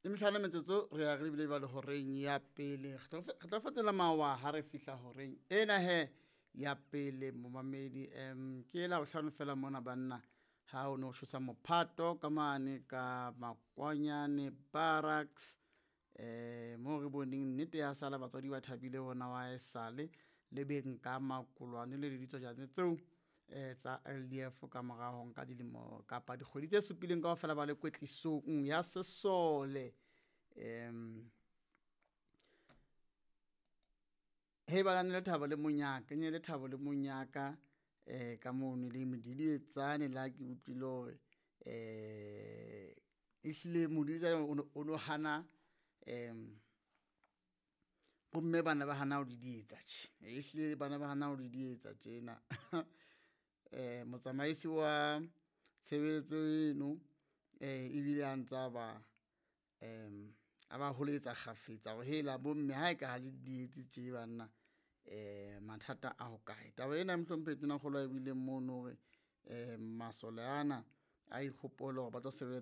Le mehlano metsotso re ya re lebile jwale horeng ya pele. Re tlo fetola mawa ha re fihla horeng ena he ya pele momamedi. Ke la bohlano fela mona banna ha o no tshosa mophato ka mane ka Makwanyane Barracks, mo re boneng nnete ya sala batswadi ba thabile bona wa esale le beng ka makolwane le ditsojane tseo tsa LDF ka mora ho nka dilemo kapa dikgwedi tse supileng kaofela ba le kwetlisong ya sesole. He ba ne le thabo le monyaka, e ne le thabo le monyaka ka mono le medidietsane le ha ke utlwile hore ehlile modidietsane o no hana bomme bana ba hana ho didietsa tje, ehlile bana ba hana ho didietsa tjena. Motsamaisi wa tshebeletso eno ebile a ntsa ba a ba holetsa kgafetsa hore hela bomme ha e ka ha le didietse tje banna mathata a hokae. Taba ena mohlomphehi Tonakgolo a e buileng mono hore masole ana a ikgopole hore ba tlo sebetsa.